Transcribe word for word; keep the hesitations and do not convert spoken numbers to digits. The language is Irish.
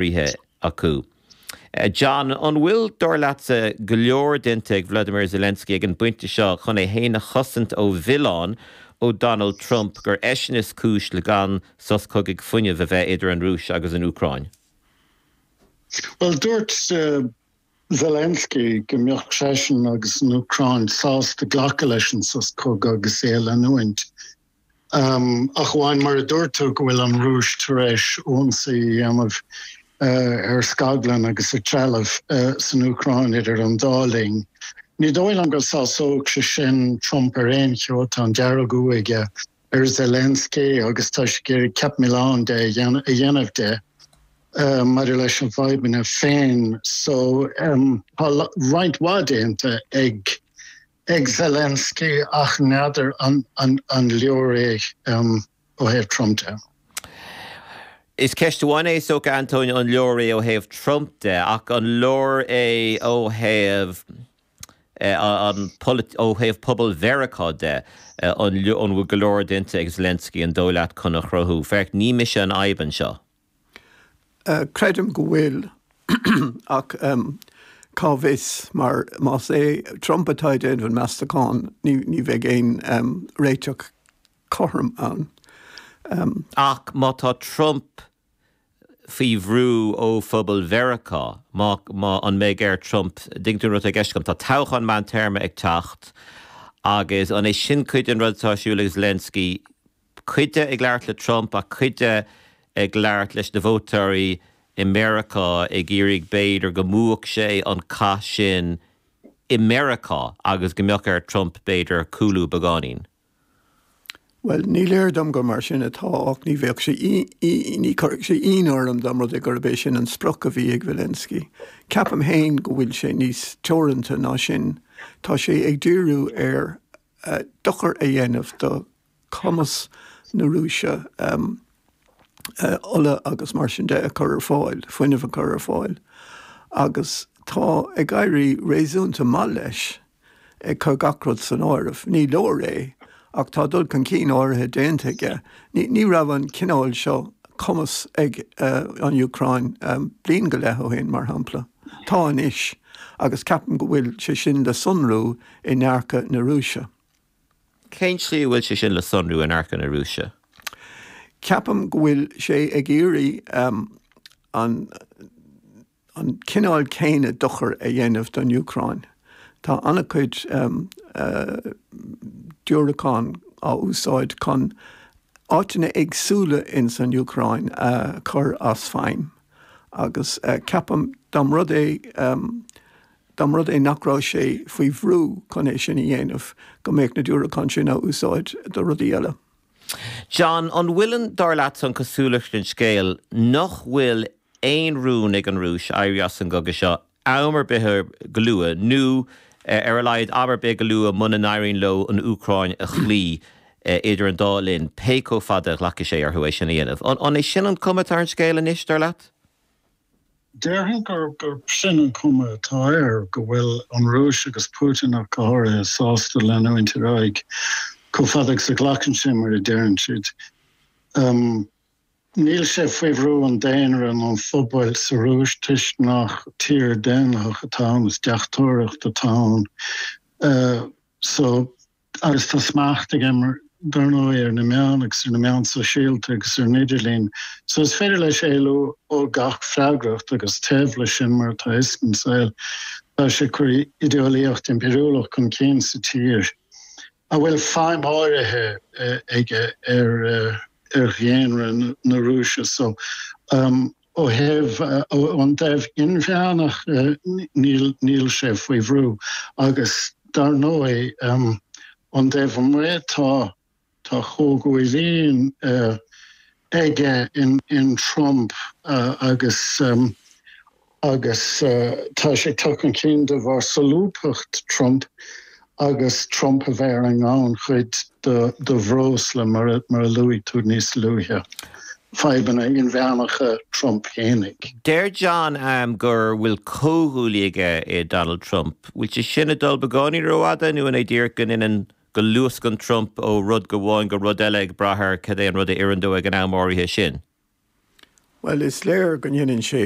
Ríthe acu. John, an bhfuil dar leatsa go leor déanta ag Vladimir Zelensky ag an bpointe seo chun é féin a chosaint ó mhilleán ó Donald Trump gur eisean is cúis le gan sos cogaidh fuinnimh a bheith idir an Rúis agus an Úcráin? Well dúirt uh, Zelensky go mbeadh seisean agus an Úcráin sásta glacadh leis an sos cogaidh agus é a leanúint. Um, ach amháin mar a dúirt tú go bhfuil an Rúis tar éis ionsaí a dhéanamh uh, ar scaglann agus ar threalamh uh, san Úcráin idir an dá linn. Ní dóigh liom go sásódh sé sin Trump ar aon cheo tá an deargfhuath aige ar Zelensky agus tá sé ag iarraidh ceap milleáin de a dhéanamh de uh, maidir leis an bhfadhbanna féin so um, tá roinnt mhaith déanta ag ag Zelensky ach n'fheadar an, an, an leor é um, ó thaobh Trump de. Is ceist amháin é so Antóin an leor é ó thaobh Trump de ach an leor é ó thaobh an ó thaobh pobal Mheiriceá de an an bhfuil go leor déanta ag Zelensky an dóigh leat chun a chruthú. Féach ní mise an fhadhb anseo. Uh, creidim go bhfuil ach um, cá bhfios mar más é Trump atá ag déanamh an meastachán ní, ní bheidh aon um, réiteach cothrom ann. Um, ach má tá Trump faoi bhrú ó phobal Mheiriceá má, má an mbeidh ar Trump ding rud ag gom tá toghchán meántéarma ag teacht agus an é sin cuid den rud atá ar siúl ag Zelensky cuid de ag labhairt le Trump a cuid de ag labhairt leis na vótóirí i Meiriceá ag iarraidh b'fhéidir go mbuafadh sé an cath sin i Meiriceá agus go mbeadh ar Trump b'fhéidir cúlú beagáinín. Well, ní léir dom gur mar sin atá ach ní bheadh sé ní chuirfeadh sé ionadh orm dá mba rud é gurb é sin an sprioc a bhí ag Zelensky. Ceapaim féin go bhfuil sé níos teoranta ná sin, Tá sé ag díriú ar uh, dochar a dhéanamh do chumas na Rúise um, uh, ola agus mar sin de a chur ar fáil, fuinneamh a chur ar fáil. Agus tá ag éirí réasúnta maith leis ag cur gach rud san áireamh. Ní leor é ach tá dul chun cinn áirithe déanta aige. Ní, ní raibh an cineál seo cumas ag uh, an Úcráin um, bliain go leith ó shin mar shampla. Tá anois agus ceapaim go bhfuil sé sin le sonrú i ndearcadh na Rúise. Cén slí bhfuil sé sin le sonrú i ndearcadh na Rúise? Ceapaim go bhfuil sé ag iarraidh um, an, an cineál céanna dochar a dhéanamh don Úcráin. Tá an-chuid um, uh, diúracán á úsáid chun áiteanna éagsúla in san Úcráin uh, chur as feidhm. Agus uh, ceapaim dá mba rud é um, dá mba rud é nach raibh sé faoi bhrú chun é sin a dhéanamh go mbeadh na diúracáin sin á úsáid do rudaí eile. John an bhfuil dar leat an cosúlacht an scéil nach bhfuil aon rún ag an Rúis éirí as an gcogadh seo am ar bith go luath nó ar a laghad am ar bith go luath muna n-éiríonn leo an Úcráin a chloí idir an dá linn pé chomh fada a ghlacfaidh sé orthu é sin a dhéanamh. An é sin an cuma atá ar an scéal anois dar leat? Déarfainn gur gur sin an cuma atá air go bhfuil an Rúis agus Putin ach go háirithe sásta leanúint ar aghaidh chomh fada agus a ghlacann sé mar a deireann siad. Um, Níl sé faoi bhrú an daonra nó an phobail sa Rúis toisc nach tír daonlathach atá ann is deachtóireacht atá ann. Uh, so agus tá smacht aige mar dar ndóigh ar na meáin agus ar na meáin sóisialta agus ar an idirlíon. So is féidir leis éalú ó gach freagracht agus taobh leis sin mar atá is an saol tá sé ag cur idéalaíocht impiriúlach chun cinn sa tír. A bhfuil feidhm áirithe aige ar uh, ar dhaonra na Rúise so um, ó thaobh uh, an taobh inmheánach uh, níl níl sé faoi bhrú agus dar ndóigh um, an taobh amuigh tá tá comhghuaillí uh, aige in, in Trump uh, agus um, agus uh, tá sé teacht chun cinn de bharr solúbthacht Trump agus Trump a bheith ar an ngannchuid de, de bhreosla mar, mar a luaigh tú níos luaithe. Fadhbanna inmheánacha Trump féinig. Deir John um, gur bhfuil comhghuaillí aige i Donald Trump. Bhfuil sé sin ag dul beagáinín rófhada nó an é díreach go n go luascann Trump ó rud amháin go rud eile ag brath ar cad é an rud a oireann dó ag an am áirithe sin. Well is léir go ndéanann sé